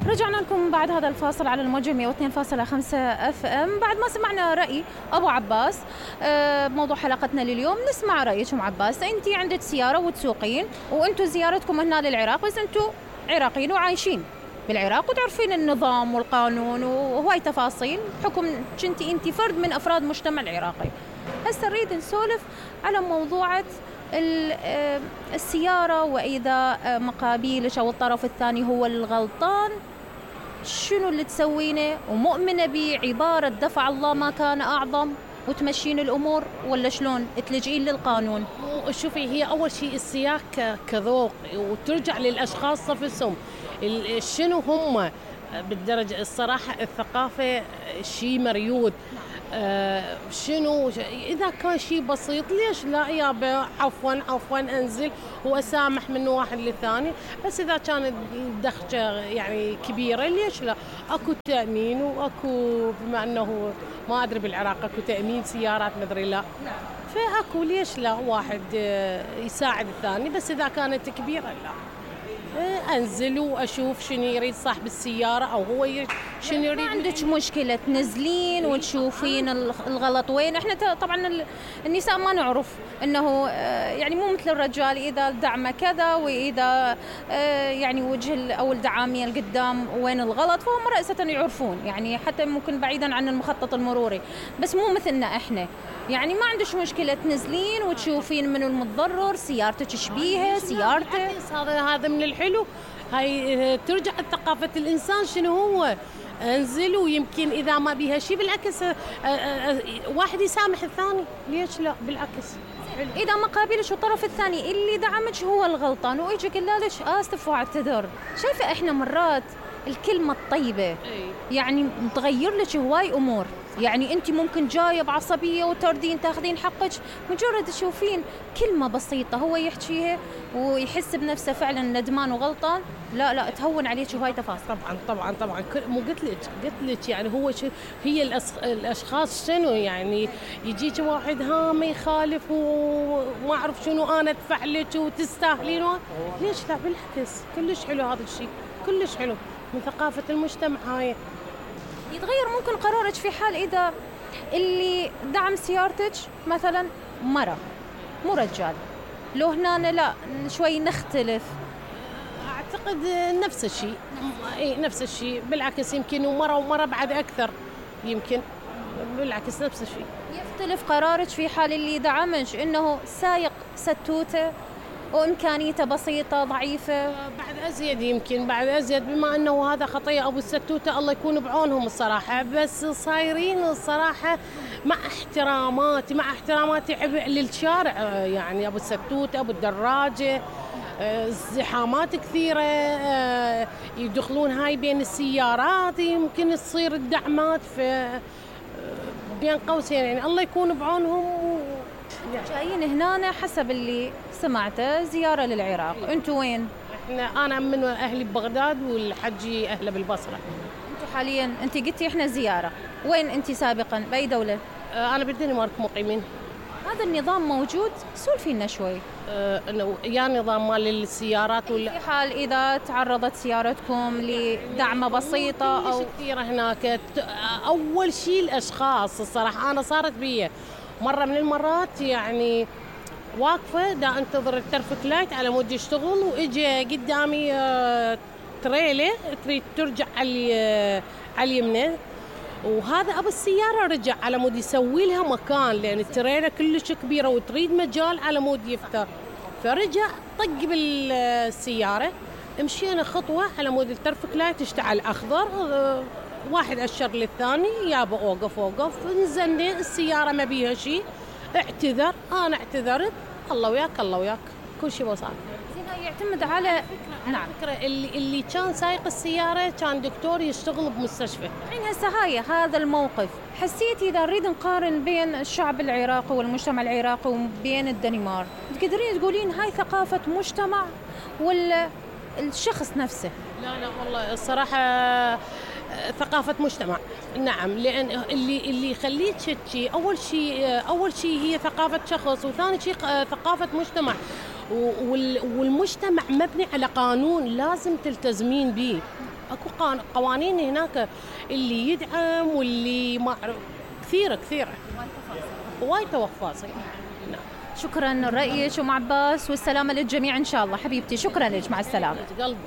رجعنا لكم بعد هذا الفاصل على الموجة 102.5 اف ام. بعد ما سمعنا رأي ابو عباس بموضوع حلقتنا لليوم، نسمع رأيك ام عباس. انت عندك سيارة وتسوقين، وانتم زيارتكم هنا للعراق، بس انتم عراقيين وعايشين بالعراق وتعرفين النظام والقانون وهواي تفاصيل بحكم كنتي انت فرد من افراد المجتمع العراقي. هسه نريد نسولف على موضوعة السيارة، وإذا مقابلك أو الطرف الثاني هو الغلطان شنو اللي تسوينه، ومؤمنة بعبارة دفع الله ما كان أعظم وتمشين الأمور، ولا شلون تلجئين للقانون؟ شوفي، هي أول شيء السياق كذوق وترجع للأشخاص نفسهم شنو هم بالدرجة. الصراحة الثقافة شيء مريود. شنو إذا كان شيء بسيط ليش لا يابا عفوا أنزل وأسامح من واحد للثاني. بس إذا كانت الدخشة يعني كبيرة ليش لا. أكو تأمين وأكو، بما أنه ما أدري بالعراق أكو تأمين سيارات مدري لا، فأكو ليش لا واحد يساعد الثاني. بس إذا كانت كبيرة لا، أنزل وأشوف شنو يريد صاحب السيارة أو هو شنو يريد. ما عندك مشكلة تنزلين وتشوفين الغلط وين؟ احنا طبعا النساء ما نعرف انه يعني مو مثل الرجال، اذا دعمه كذا واذا يعني وجه او الدعامية القدام وين الغلط، فهم رأسة يعرفون يعني، حتى ممكن بعيدا عن المخطط المروري. بس مو مثلنا احنا، يعني ما عندش مشكلة تنزلين وتشوفين منو المتضرر، سيارتك شبيها سيارته. هذا من الحلو. هاي ترجع ثقافة الإنسان شنو هو. انزل ويمكن إذا ما بيها شيء بالعكس واحد يسامح الثاني، ليش لا بالعكس. إذا ما قابلش الطرف الثاني اللي دعمك هو الغلطان ويجي قال لك آسف واعتذر، شايفة إحنا مرات الكلمة الطيبة يعني تغير لك هواي أمور. يعني أنت ممكن جاية بعصبية وتردين تاخذين حقك، مجرد تشوفين كلمة بسيطة هو يحكيها ويحس بنفسه فعلا ندمان وغلطان، لا تهون عليك هواي تفاصيل. طبعا مو قلت لك يعني هو هي الاشخاص شنو يعني. يجيك واحد ما يخالف وما اعرف شنو انا ادفع لك وتستاهلين، ليش لا بالعكس. كلش حلو هذا الشيء، كلش حلو من ثقافة المجتمع. هاي يتغير ممكن قرارك في حال إذا اللي دعم سيارتك مثلا مرة مو رجال، لو هنا لا شوي نختلف. أعتقد نفس الشيء. نفس الشيء بالعكس، يمكن ومرة بعد أكثر، يمكن بالعكس نفس الشيء. يختلف قرارك في حال اللي دعمك إنه سايق ستوته وإمكانيته بسيطة ضعيفة. بعد أزيد، يمكن بعد أزيد، بما أنه هذا خطية أبو الستوتة الله يكون بعونهم الصراحة. بس صايرين الصراحة مع احتراماتي عبء للشارع، يعني أبو الستوتة أبو الدراجة زحامات كثيرة، يدخلون هاي بين السيارات، يمكن تصير الدعمات في بين قوسين، يعني الله يكون بعونهم. جايين هنا حسب اللي سمعته زيارة للعراق، انتوا وين؟ انا من اهلي ببغداد والحجي اهله بالبصرة. انتوا حاليا انت قلتي احنا زيارة، وين انت سابقا باي دولة؟ انا بالدنمارك مقيمين. هذا النظام موجود؟ سولفي لنا شوي. يا نظام مال السيارات ولا في حال اذا تعرضت سيارتكم لدعمة بسيطة او كثيرة هناك. اول شيء الاشخاص الصراحة انا صارت بي مرة من المرات يعني واقفة دا انتظر الترفيك لايت على مود يشتغل، واجي قدامي تريلة تريد ترجع على اليمنى، وهذا ابو السيارة رجع على مود يسوي لها مكان، لان التريلة كلش كبيرة وتريد مجال على مود يفتر، فرجع طق بالسيارة. مشينا خطوة على مود الترفيك لايت اشتعل اخضر، واحد أشر للثاني يابا أوقف. نزلنا السيارة ما بيها شيء، اعتذر، أنا اعتذرت، الله وياك كل شيء بسيط. زين يعتمد على نعم. فكرة اللي كان سايق السيارة كان دكتور يشتغل بمستشفى. الحين هسه هذا الموقف حسيتي إذا نريد نقارن بين الشعب العراقي والمجتمع العراقي وبين الدنمارك، تقدرين تقولين هاي ثقافة مجتمع ولا الشخص نفسه؟ لا والله الصراحة ثقافة مجتمع. نعم، لأن اللي يخليك تشكي أول شيء هي ثقافة شخص، وثاني شيء ثقافة مجتمع، والمجتمع مبني على قانون لازم تلتزمين به. اكو قوانين هناك اللي يدعم واللي ما كثيره وايد تفاصيل. نعم. شكرا لرأيك ام عباس، والسلامه للجميع ان شاء الله. حبيبتي شكرا لك، مع السلامه. قلبي.